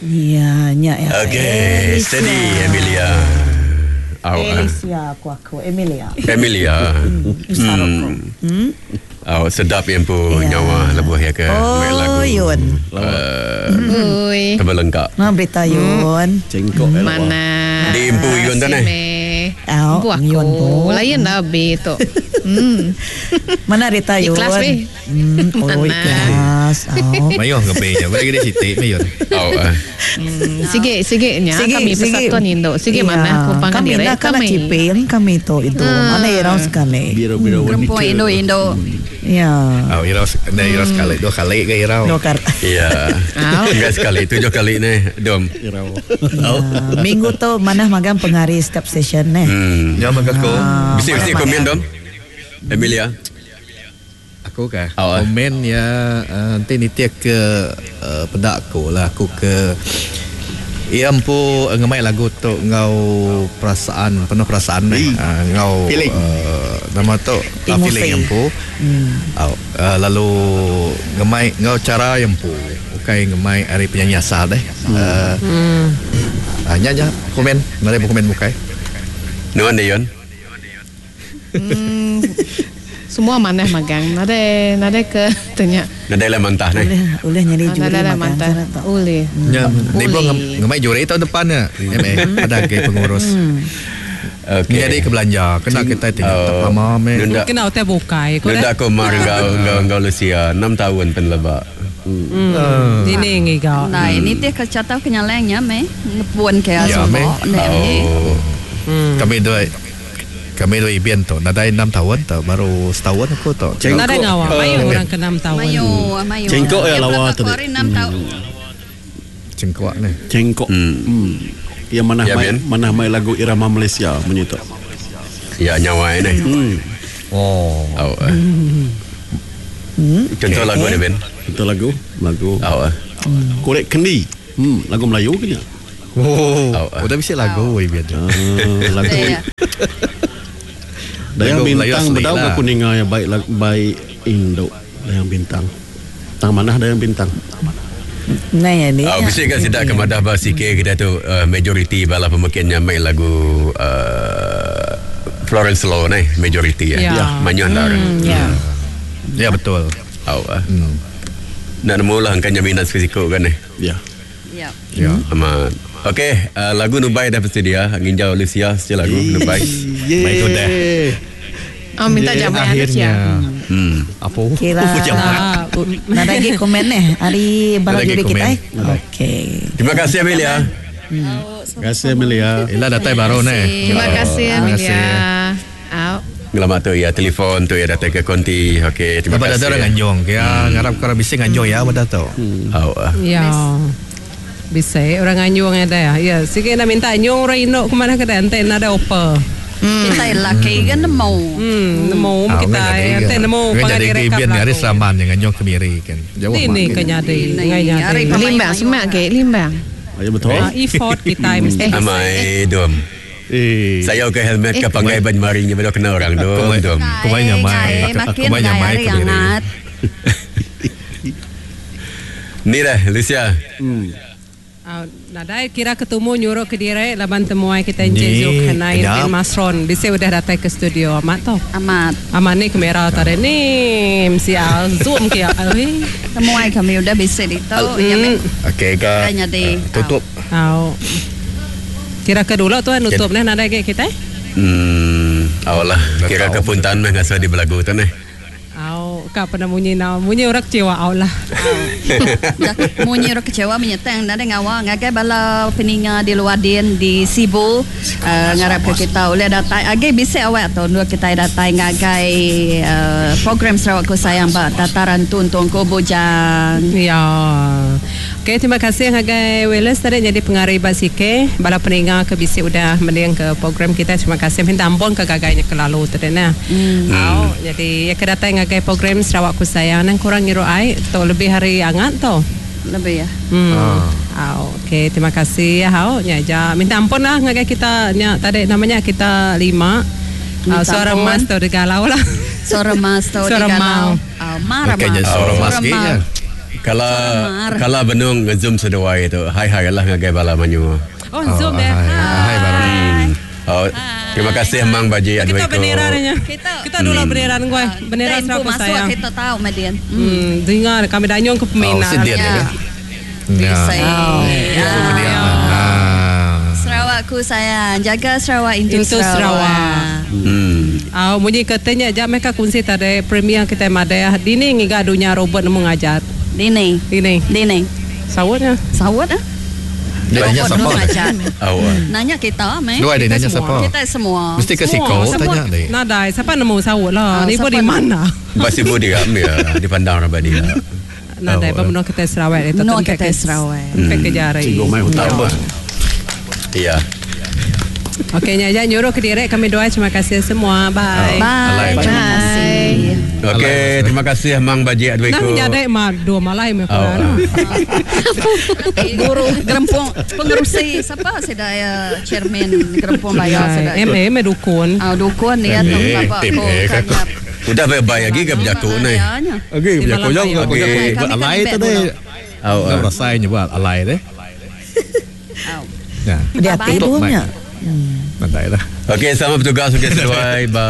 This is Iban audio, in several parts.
Ya, nya ya. Okey, steady Emilia. Au. ah. Alicia aku aku Emilia. Emilia. Sarok aku. Hmm. Au sedap ya empu Ya. nyawa lebuh ya ke Oh, main lagu. Yun. Uh, Ui. tebelengkak. Nah, berita Yun. Cengkok eh, lawa. Mana? Di empu Yun tu, neh. Au, Empu aku. Yun po. Lain lah bi tu. Hmm. Mana Rita Yun? Ikhlas, weh. Hmm, oh, Mana? ikhlas. Oh. Mayuh ngepe nya. Bagi dia sitik mayuh. Au. ah. Sige sige nya kami persatuan Indo. Sige Iya. mana aku pangan Kami dire nak kena kami. cipil kami tu itu. Mana irau sekali. Biro-biro wanita. Perempuan Indo-Indo. Ya. Oh, irau, nah, irau sekali, dua kali ke irau. Dua kar. Ya. Au. Enggak sekali, tujuh kali ni, Dom. Irau. Ya. Minggu tu mana magang pengari setiap session ni. Hmm. Ya, maka aku. Ah, Bisi bisi mana komen magang. Dom. Emilia. Aku kah? Oh, eh. Komen ya eh, nanti nitia ke uh, pedak aku lah aku ke Ia empu eh, ngemai lagu tu ngau perasaan penuh perasaan ni uh, ngau Feeling. uh, nama tu uh, Emosi. feeling empu. Hmm. Uh, uh, lalu ngemai ngau cara yang empu bukan ngemai hari penyanyi asal deh. Uh, hmm. Uh, nya nya komen, nare komen bukai. Nuan deh Yon. Semua mana magang. Nade nade ke tanya. Nadai lah mantah ni. Boleh boleh nyari juri Nade lah magang mantan. sana tu. Uli. Ya, ni pun Boleh. ngemai juri tahun depan ya. MA ada ke pengurus. Okey. Jadi ke belanja kena kita tengok tak Oh. lama me. Nunda Kena utai bukai ko Nunda dah. aku mar ngau ngau ngau Lucia 6 tahun penlebak. Hmm. Dini ngiga. Nah, ini teh kecatau kenyalengnya me. Ngepuan ke Ya, semua. meh. Nek. Oh. Kami dua kami dua ibian tu nadai 6 tahun tu baru setahun aku tu. Cengkok. Nade ngawa. Mayu orang ke 6 tahun. Mayu, mayu. Cengkok ya lawa tu. tadi. Hari 6 tahun. Cengkok ni. Cengkok. Hmm. Ya mana Ya, mai Ben. mana mai lagu irama Malaysia bunyi tu. Ya nyawa ni. Hmm. Oh. Oh. eh. Contoh lagu ni Ben. Itu lagu, lagu Oh. eh. Korek Kendi. Hmm, lagu Melayu ke ni? Oh. Oh, eh. Udah bisa lagu ibian tu. Ah, lagu Ya. Dayang Lagu Melayu Bintang asli bedau lah. aku ninga ya baik lagu baik Indo. Dayang Bintang. Tang mana Dayang Bintang? Nah, ya ni. Oh, bisa kan sidak ke madah bah sikit kita tu uh, majority bala pemakinnya main lagu uh, Florence Law ni majority ya. Ya. Manyuh lah. Ya. Ya betul. Oh. eh. Nak nemu lah angkanya minat sikit kan ni. Ya. Ya. Ya. Amat. Okey, uh, lagu Nubai dah bersedia. Nginjau Lucia sedia lagu Nubai. Baik tu dah. Oh minta Yeah, jamuan akhirnya. ya. Hmm. Apa? Kira. Jamat. Ah, Nak lagi komen ni. Hari bala Nak lagi juri kita. komen. eh. Okey. Terima kasih Amelia. Terima kasih Amelia. Ila datai baru ni. Terima kasih Terima Amelia. kasih. Au. Ngelamat tu ya telefon tu ya datang ke konti. Okey, terima Lepas kasih. ada orang nganjung. Ya, ngarap korang bisa nganjung ya pada tu. Oh, ah. Ya. Bisa orang anjung ada ya. Ya, sikit nak minta anjung orang induk ke mana ke dah ente nak ada apa. Kita laki kan nemu. Hmm, nemu Ah, kita ente nemu Kan pangan jadi direkap ibian ni hari lagu. seraman yang nganjung kemiri kan. Jauh Ini makin. kena ada. Ini, Ngai hari nyadi. pemain Limbang mayu semak ke limbang. Ayo betul. Ah, effort kita mesti. Amai dom. Eh. Saya ke helmet ke panggai ban marinya baru kena orang dom Kumai- dom. Kumai nyamai. Makin Kumai nyamai hari kemiri. hangat. Ni dah Lucia. Ah, nadai kira ketemu nyuruh ke dire laban temuai kita Encik Ni, Zulkarnain kejap. bin Masron. Bisa udah datang ke studio amat tu. Amat. Amat ni kamera tadi ni MC Al zoom ke Oi. Temuai kami udah bisa itu. Ya, me. Okey ke. Kayaknya di- Tutup. Au. Kira ke dulu tu nutup ni nadai ke kita? Hmm, awak lah. Kira tahu. ke puntan meh ngasa di belagu tu ni. Au, kak pernah bunyi na bunyi orang kecewa au lah. Dah, Munyi orang kecewa menyeteng nada ngawa ngagai bala peninga di luar din di Sibu uh, ngarap ke kita oleh datai agi bisa awak tu dua kita datai ngagai uh, program Sarawakku Sayang ba tataran tuntung ko bujang. Ya. Okey, terima kasih ngagai Wallace tadi jadi pengari basike. Bala peninga ke bisi udah mending ke program kita. Terima kasih minta ampun ke gagainya ke lalu tadi nah. Hmm. Au, jadi ya ke datang ngagai program Sarawakku Sayang nang kurang ngiru ai tu lebih hari angat tu. Lebih ya. Hmm. Au, okey, terima kasih ya hau nya ja. Minta ampun lah ngagai kita nya tadi namanya kita lima. Minta Uh, suara ampun. mas tu digalau lah. Suara mas tu Suara digalau. mau. Ah, marah Kayaknya mas. suara mas Suara kayaknya. Kala kala benung ngezoom seduai tu. Hai hai lah ngagai bala mayuh. Oh, zoom eh. Hai, hai baru. Oh, terima kasih Mang Baji Kita Adwiko. bendera nya. Kita Kita dulu bendera ngoi. Bendera Kita Sarawak masuk sayang. kita tahu Madian. Dengar kami danyong ke Oh, peminat. sedih dia. Ya. Ya. Bisa. Ya. Dia. Ah. Sarawakku sayang, jaga Sarawak into, Into Sarawak. Au munyi katanya jam mereka kunci tadi premier kita madai. Dini ngiga dunia robot nemu ngajar. Dini. Dini. Dini. Sawutnya. Sawut ah. Dia nanya Robot siapa? nemu ngajar. Oh. Nanya kita meh. Dua dia nanya siapa? Kita semua. Mesti ke siko tanya dia. Nadai, siapa nemu sawut lah. Ah, Ni pun siapa di mana? Basi budi kami ya, dipandang orang dia. Nadai, Oh, oh, menua kita Sarawak itu. Menua kita Sarawak. Tempat ke jari. Cikgu main hutang apa? Iya. Okey, nya nyuruh ke direk kami doa. Terima kasih semua. Bye. Bye. Alai. Terima kasih. Okey, terima kasih Mang Baji Nah, Adwiko. nyadai mah dua malai meh Oh, kurang. Guru gerempung pengerusi siapa sedaya chairman gerempung bayar sedaya. MA meh dukun. Ah dukun dia tu Eh, apa tim aku eh, kan kakak. Udah bye-bye lagi ke berjaku ni. Okey, Di biar malam kau jauh bayar. kau Okey. buat alai tadi. Oh, Kau rasanya buat alai deh. Ya. Dia Bye-bye. hati punya. Pandai lah. Okey, sama bertugas okey sesuai ba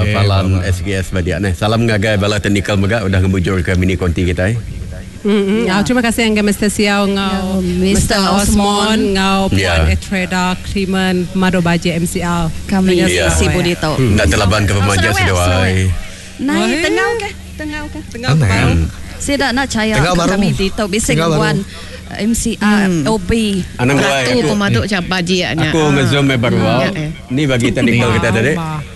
Okey, palan bye-bye. SKS Badia ni. Salam ngagai bala teknikal mega udah ngemujur ke mini konti kita eh. Mm-hmm. Ya. Terima kasih yang Mr. Siau ngau Ya, Mr. Mr. Osmond Osmond. ngau Puan Ya. Etreda Clement Mado Baji MCL. Kami Dunia Ya. si Sarawak. Budi tu. Nak terlaban ke pemajak Sarawak, seduai. Sarawak. Naik Oi. tengau ke? Tengau ke? Tengah Aneh. baru. Saya nak caya Tengau baru. kami di tu bising Tengau baru. buan MCR OB. Anang gua Ratu aku. pemaduk cap baji nya. Aku ngezoom eh baru. Ya, au. eh. Ni bagi teknikal kita tadi.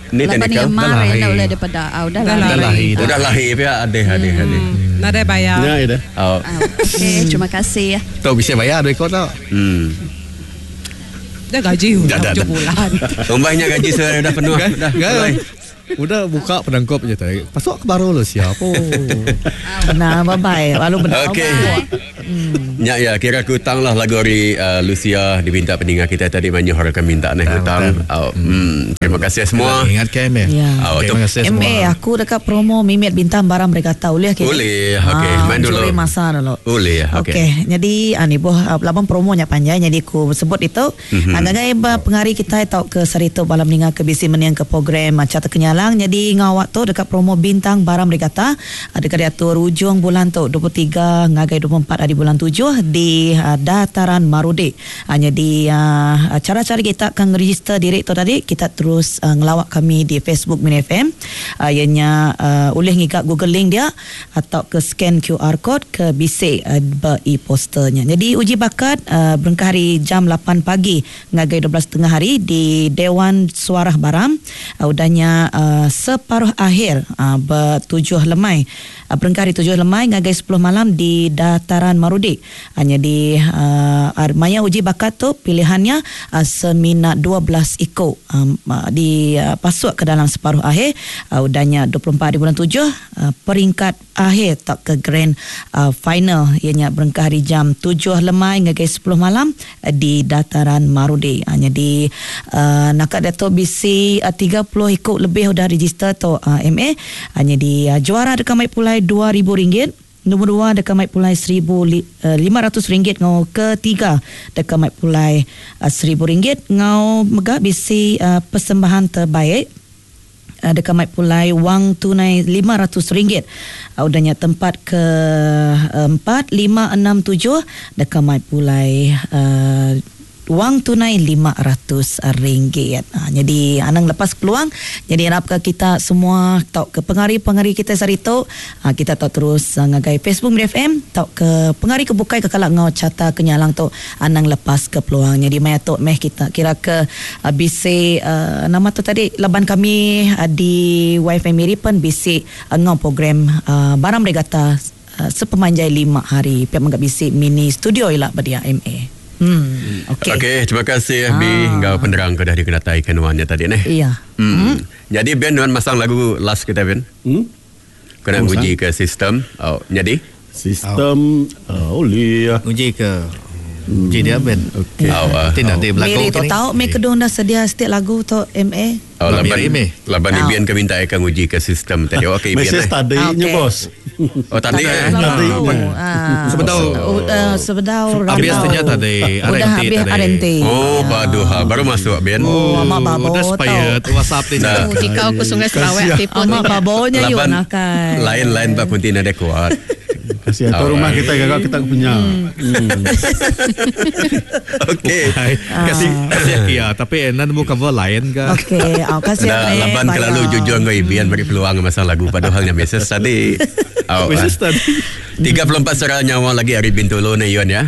Ni Lapan teknikal. ni Dah marah lahir. dah boleh daripada au dah Dah lahir. Dah lahir. Udah lahir ya adeh adeh adeh. Nadai bayar. Ya, ya dah. Oh. Ah, Okey, terima kasih ya. Tahu bisa bayar duit kau tak? Dah gaji Dah, dah dah, tujuh dah. bulan. Umbahnya gaji saya dah penuh dah. Kan? Udah buka penangkop je tadi. Pasok ke baru lo siapa? Nah, bye bye. Lalu benar. Okey. Ya ya kira aku hutang lah lagu hari uh, Lucia diminta pendengar kita tadi banyak orang akan minta ni hutang. Oh, Terima kasih semua. Ingat kan ya? Ya. Oh, tu Terima kasih semua. MA aku dekat promo Mimit Bintang Barang mereka tahu boleh ke? Boleh, okey. Main dulu. Curi masa dulu. Boleh, okey. Okey, jadi ah, ni boh ah, laban promonya panjang jadi aku sebut itu. Mm-hmm. Ah, ngagai ba pengari kita tau ke Sarito balam ninga ke bisi meniang ke program macam terkenyalang jadi ngawak tu dekat promo Bintang Barang Regatta ah, dekat diatur ujung bulan tu 23 ngagai 24 hari bulan 7 di ah, dataran Marudi. Hanya di ah, cara-cara kita akan register diri tu tadi kita terus uh, ngelawak kami di Facebook Min FM uh, ianya uh, boleh ngigak Google link dia atau ke scan QR code ke bisik uh, e-posternya. Jadi uji bakat uh, berengkah hari jam 8 pagi ngagai 12.30 hari di Dewan Suarah Baram. Uh, udahnya uh, separuh akhir uh, bertujuh lemai. Uh, berengkah hari 7 lemai ngagai 10 malam di Dataran Marudi. Hanya di uh, maya uji bakat tu pilihannya uh, semina 12 ekor um, uh, di uh, pasuk ke dalam separuh akhir uh, udahnya 24 hari bulan 7 uh, peringkat akhir tak ke grand uh, final ianya berengkah hari jam 7 lemai ngagai 10 malam uh, di dataran Marudi. Hanya di uh, nakak Dato BC uh, 30 ekor lebih udah register tu uh, MA hanya di uh, juara dekat Maik Pulai RM2,000 Nombor dua dekat Maik Pulai RM1,500 ngau ketiga dekat Maik Pulai RM1,000 ngau mega bisi uh, persembahan terbaik uh, dekat Maik Pulai wang tunai RM500. Uh, udahnya tempat ke 4, 5, 6, 7 dekat Maik Pulai uh, wang tunai RM500. Ha, jadi anang lepas peluang jadi harap ke kita semua tau ke pengari-pengari kita sehari tu ha, kita tau terus uh, ngagai Facebook Mid FM tau ke pengari ke bukai ke kalak ngau cata kenyalang tu anang lepas ke peluang. Jadi maya tu meh kita kira ke uh, bisi uh, nama tu tadi laban kami uh, di YFM Miri pun bisi uh, ngau program uh, Baram Regatta uh, sepemanjai 5 hari. Pihak menggak bisi mini studio ilak pada MA. Okey. Okey, terima kasih FB ah. Ngau penerang ke dah dikenatai kenuannya tadi ni. Iya. Jadi Ben nuan masang lagu last kita Ben. Kena Masang. uji ke sistem. Oh, jadi Sistem oh, boleh. Uji ke Uji dia Ben. Okey. Oh, ah. Nanti nanti berlaku Mary tu tahu me kedung dah sedia setiap lagu tu MA. Oh, Lah, laban Miri, Mi. laban Ah. Ibian ke minta akan uji ke sistem tadi. Okey, Ibian. Mesej eh. tadi nya Ah, okey. bos. Oh tadi eh. Tadi. Ah. Sebedau Sebedau Habis rambau. tanya tadi Udah RNT habis tadi. RNT. Oh, paduh ha. Baru masuk Ben. Oh, amak babo Udah expired WhatsApp ni. Nah. Oh, Jika aku Sungai Sarawak tipun. Amak babonya yuk Laban nakai. lain-lain pak kunti nada kuat. Kasih atau rumah kita gagak kita punya. Okey. Hai, kasih kasih ya, tapi nan nemu cover lain ke. Okey, oh, kasih Dah eh, laban bayar. kelalu jujur dengan Ibian beri peluang masa lagu padahal yang biasa tadi. Oh, Mrs. tadi. 34 serah nyawa lagi hari Bintulu ni Yun ya.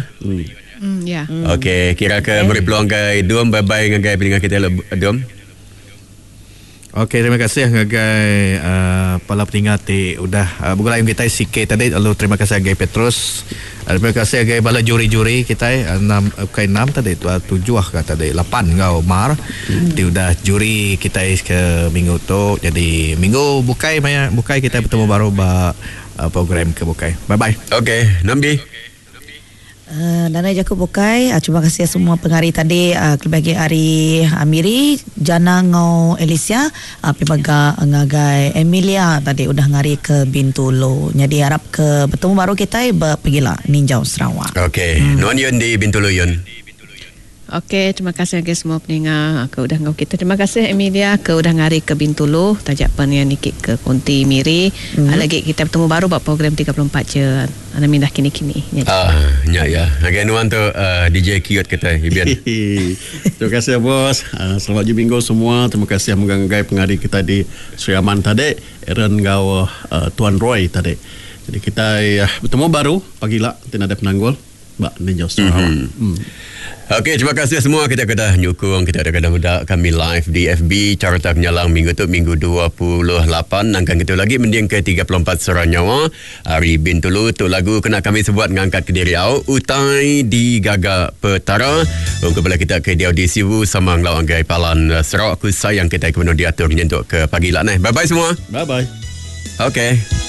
Ya. Okey, kira ke beri peluang ke Dom bye bye dengan pendengar kita Dom. Okey, terima kasih ngagai para pendengar ti udah begulai kita CK tadi lalu terima kasih ngagai Petrus. Terima kasih ngagai bala juri-juri kita enam bukan enam tadi tu tujuh ke tadi lapan ngau Mar. Ti udah juri kita ke minggu tu. Jadi minggu bukai maya bukai kita bertemu baru ba program ke bukai. Bye bye. Okey, Nambi. Nana Jacob Bukai, terima kasih semua pengari tadi, kelebih lagi hari Amiri, Jana ngau Alicia, pimaga ngagai Emilia tadi udah ngari ke Bintulu. Jadi harap ke bertemu baru kita berpergilah Ninjau Sarawak. Okey, Nuan Yun di Bintulu Yun. Okey, terima kasih lagi semua pendengar ke udah ngau kita. Terima kasih Emilia ke udah ngari ke Bintulu, tajak penian nikik ke Konti Miri. Lagi kita bertemu baru buat program 34 je. Ana mindah kini-kini. Ya. Ah, ya ya. Ngagai Nuan tu DJ cute kita Ibian. Terima kasih bos. Selamat hujung minggu semua. Terima kasih menganggai pengari kita di Sri Aman tadi, Aaron ngau Tuan Roy tadi. Jadi kita bertemu baru pagi lah, tidak ada penanggul. Bak Ninja Sarawak. Okey, terima kasih semua kita kedah nyukung kita ada kedah muda kami live di FB Carta Kenyalang minggu tu minggu 28 nangkan kita lagi mending ke 34 Serah Nyawa hari Bintulu tu lagu kena kami sebut ngangkat ke diri au utai di Gaga Petara untuk bela kita ke dia di Sibu sama ngelawan gai Palan Sarawak ku sayang kita kemudian diatur nyentuk ke pagi lah nah. Bye bye semua. Bye bye. Okey.